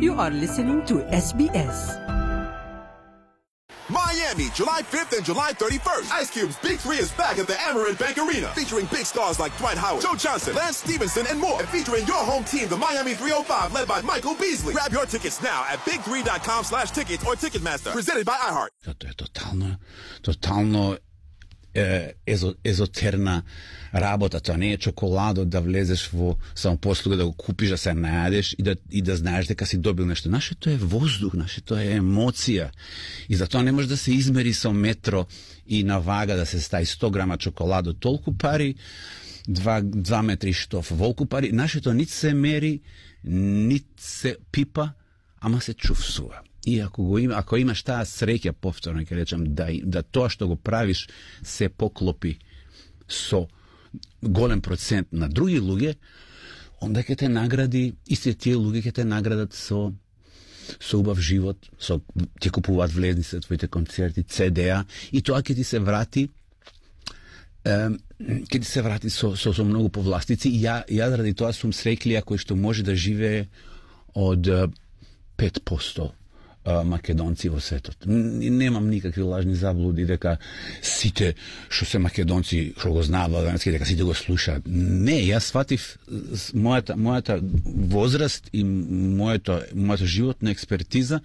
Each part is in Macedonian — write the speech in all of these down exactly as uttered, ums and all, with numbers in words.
You are listening to S B S. Miami, July fifth and July thirty-first. Ice Cube's Big Three is back at the Amerant Bank Arena, featuring big stars like Dwight Howard, Joe Johnson, Lance Stevenson, and more. And featuring your home team, the Miami three oh five, led by Michael Beasley. Grab your tickets now at big three dot com slash tickets or Ticketmaster. Presented by iHeart. To je totalno, totalno e, ezo, ezoterna работа. Тоа не е чоколадо да влезеш во самопослуга, да го купиш, да се најадеш и да, и да знаеш дека си добил нешто. Нашето е воздух, нашето е емоција. И затоа не може да се измери со метро и на вага да се стави сто грама чоколадо. Толку пари, два, два метри штоф, волку пари. Нашето нит се мери, нит се пипа, ама се чувствува. И ако го има, ако имаш таа среќа, повторно ќе речам, да, да тоа што го правиш се поклопи со голем процент на други луѓе, онда ќе те награди, истите тие луѓе ќе те наградат со со убав живот, со ќе купуваат влезници за твоите концерти, Це Де-а, и тоа ќе ти се врати е, ќе ти се врати со, со, со многу повластици. И ја, ја заради тоа сум среќлија кој што може да живее од пет проценти македонци во светот. Немам никакви лажни заблуди дека сите што се македонци што го знаат владански, дека сите го слушаат. Не, јас сватив мојата мојата возраст и моето мојата животна експертиза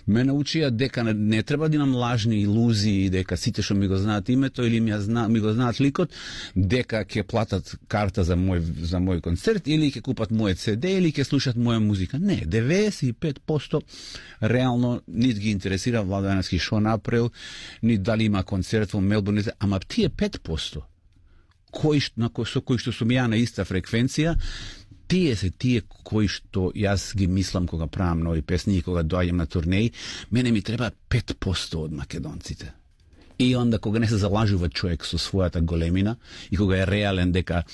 ме научија дека не, не треба да имам лажни илузии, дека сите што ми го знаат името или ми, зна, ми го знаат ликот, дека ќе платат карта за мој за мој концерт или ќе купат моје Це Де или ќе слушат моја музика. Не, деветдесет и пет проценти реално нит ги интересира Владански шо направил, нит дали има концерт во Мелбурн, ама тие пет проценти кои на кои со кои што сум ја на иста фреквенција, тие се тие кои што јас ги мислам кога правам нови песни и кога доаѓам на турнеи. Мене ми треба пет проценти од македонците. И онда кога не се залажува човек со својата големина и кога е реален дека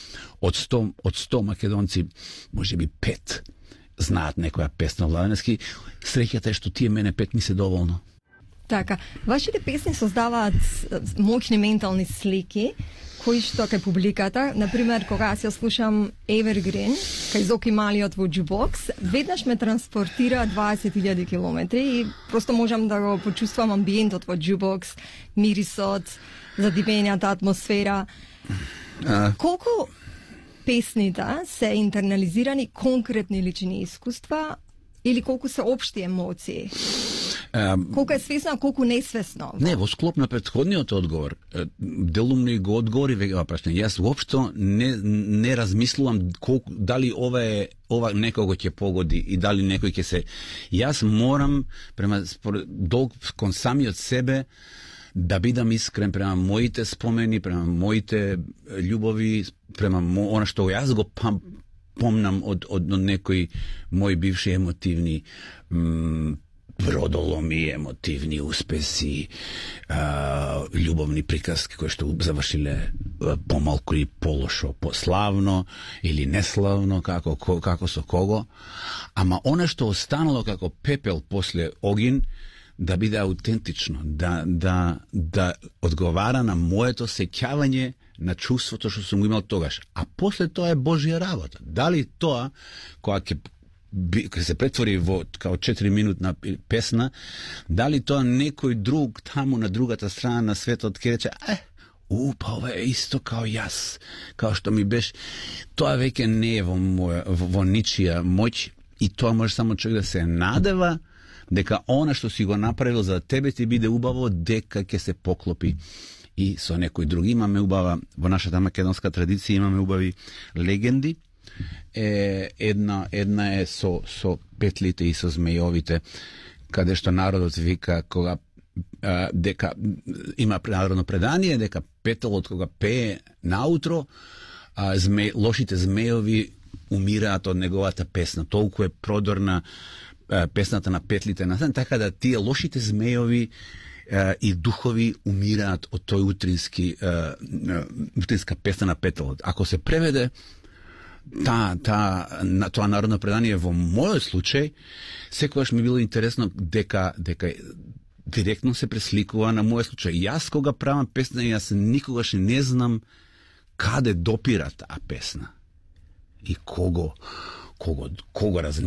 од сто од сто македонци можеби пет знаат некоја песна владански, среќата е што тие мене пет ми се доволно. Така, вашите песни создаваат моќни ментални слики кои што кај публиката, например, кога јас ја слушам Evergreen, кај Зоки Малиот во Jukebox, веднаш ме транспортира дваесет илјади километри и просто можам да го почувствувам амбиентот во Jukebox, мирисот, задивењата атмосфера. А... Колку песните се интернализирани конкретни лични искуства или колку се општи емоции? Um, колку е свесно, а колку несвесно? Не, во склоп на претходниот одговор, делумно и го одговори веќе прашање. Јас воопшто не не размислувам колку дали ова е ова некого ќе погоди и дали некој ќе се. Јас морам према долг кон самиот себе да бидам искрен према моите спомени, према моите љубови, према она што јас го пам, помнам од од, од некои мои бивши емотивни м, бродоломи, емотивни успеси, а, љубовни приказки кои што завршиле помалку и полошо, пославно или неславно, како како со кого, ама она што останало како пепел после огин, да биде аутентично, да, да, да одговара на моето сеќавање на чувството што сум го имал тогаш. А после тоа е Божја работа. Дали тоа, која ќе ќе се претвори во као четири минутна песна, дали тоа некој друг таму на другата страна на светот ќе рече, е, у, па ова е исто као јас, као што ми беше, тоа веќе не е во, моја, во, во ничија моќ и тоа може само човек да се надева дека она што си го направил за тебе ти биде убаво, дека ќе се поклопи и со некој друг. Имаме убава, во нашата македонска традиција имаме убави легенди. Е, една, една е со, со петлите и со змејовите, каде што народот вика кога а, дека има народно предание дека петелот кога пее наутро, а, зме, лошите змејови умираат од неговата песна. Толку е продорна а, песната на петлите на сен, така да тие лошите змејови а, и духови умираат од тој утрински а, утринска песна на петелот. Ако се преведе Та, та, на тоа народно предание во мојот случај, секогаш ми било интересно дека, дека директно се пресликува на мојот случај. Јас кога правам песна, јас никогаш не знам каде допира таа песна и кого, кого, кого разни